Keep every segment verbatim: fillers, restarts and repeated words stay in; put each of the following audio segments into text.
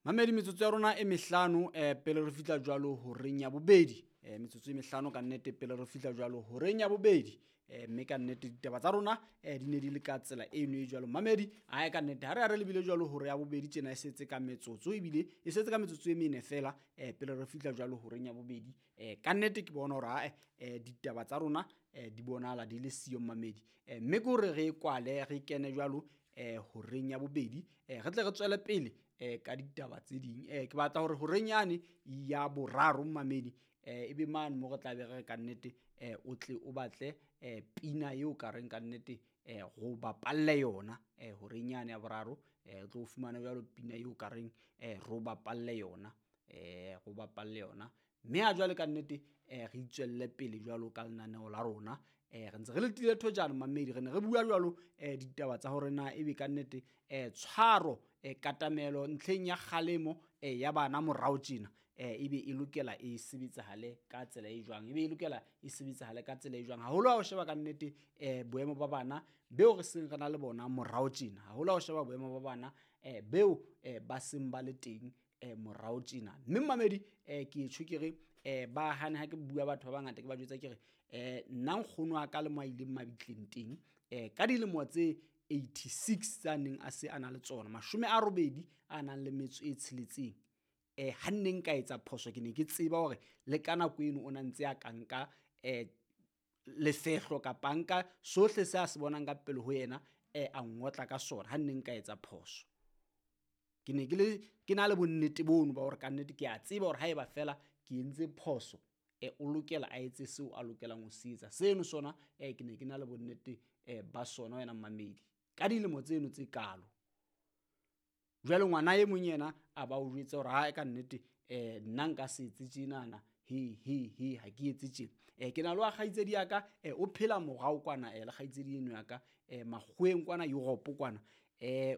Mamedi, metsotso ya rona e mehlano eh pele re fihla jwalo horeng ya bobedi. Eh metsotso e mehlano ka nnete pele re fihla jwalo horeng ya bobedi. Eh mme ka nnete ditaba tsa rona eh di ne di le ka tsela eno e jwalo. Mamedi, ae ka nnete ha re ya re lebile jwalo hore ya bobedi tjena e setse ka metsotso ebile e setse ka metsotso e mene fela eh pele re fihla jwalo horeng ya bobedi. Eh ka nnete ke bona hore ae eh ditaba tsa rona eh di bonahala di le siyo mamedi. Eh mme ke hore re kwale re kene jwalo eh horeng ya bobedi eh re tle re tswele pele eh ka ditaba tse ding. Eh ke batla hore horeng yane ya boraro mamedi eh ebe mane mo re tla be re ka nnete eh o tle o batle eh pina eo ka reng ka nnete eh go bapalle yona eh horeng yane ya boraro eh o tlo fumana jwalo pina eo ka reng eh ro bapalle yona eh go bapalle yona. Mme ha jwale ka nnete eh re itswelle pele jwalo ka lenaneo la rona. Eh re ntse re letile thojana mamedi, re ne re bua jwalo eh ditaba tsa hore na ebe ka nnete eh tshwaro eh katamelo ntlheng ya kgalemo eh ya bana morao tjena eh ebe e lokela e sebetsahale ka tsela e jwang, ebe e lokela e sebetsahale ka tsela e jwang. Haholo ha o sheba ka nnete eh boemo ba bana beo re seng re na le bona morao tjena, haholo ha o sheba boemo ba bana eh beo eh ba seng ba le teng eh morao tjena. Mme mamedi eh ke tjho ke re eh ba hane ha ke bua batho ba bangata ke ba jwetsa ke re eh nna nkgono wa ka le mo a ileng mabitleng teng eh ka dilemo tse eighty-six tsa neng a se a na le tsona mashome a robedi a nang le metso e tsheletseng eh ha nne nka etsa phoso ke ne ke tseba hore le ka nako eno o na ntse a ka nka eh lefehlo kapa nka sohle se a se bonang ka pele ho yena eh a ngotla ka sona ha nne nka etsa phoso. Ke ne ke le ke na le bonnete bono ba hore ka nnete ke a tseba hore haeba fela ke entse phoso eh o lokela a etse seo a lokelang ho se etsa. Seno sona eh ke ne ke na le bonnete eh ba sona wena mamedi ka dilemo tseno tse kalo. Jwale ngwana e mong yena a ba o jwetsa hore ha ka nnete eh nna nka se etse tjenana he he he ha ke etse tjena. Eh ke na le wa kgaitsedi ya ka eh o phela morao kwana eh le kgaitsedi eno ya ka eh makgoweng kwana Europe kwana eh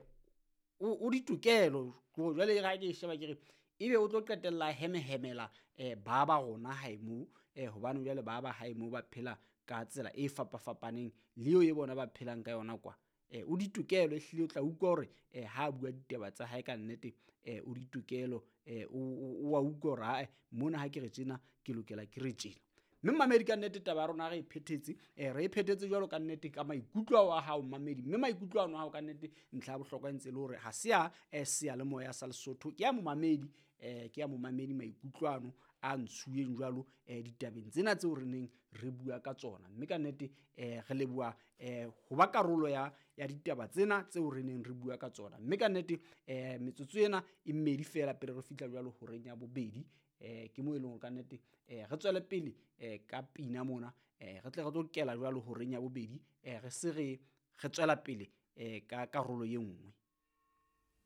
o ditokelo. Jwale ha ke sheba ke re ebe o tlo qetella hemehemela eh ba ba rona hae moo eh hobane jwale ba ba hae moo ba phela ka tsela e fapafapaneng le eo e bona ba phelang ka yona kwa. Eh o ditokelo ehlile o tla utlwa hore eh ha bua ditaba tsa hae ka nnete eh o ditokelo eh o wa utlwa hore ha mona ha ke re tjena ke lokela ke re tjena. Mme mamedi ka nnete taba ya rona re e phethetse eh re e phethetse jwalo ka nnete ka maikutlo a hao mamedi. Mme maikutlo ano a hao ka nnete ntlha ya bohlokwa ntse le hore ha se ya seyalemoya sa Lesotho ke ya momamedi eh ke ya momamedi maikutlo ano a ntshuweng jwalo eh ditabeng tsena tseo re neng re bua ka tsona. Mme ka nnete eh re leboha eh ho ba karolo ya ya ditaba tsena tseo re neng re bua ka tsona. Mme ka nnete eh metsotso ena e mmedi fela pele re fihla jwalo horeng ya bobedi eh ke mo e leng hore ka nnete eh re tswele pele eh ka pina mona eh re tle re tlo kela jwalo horeng ya bobedi eh re se re re tswela pele eh ka karolo e nngwe.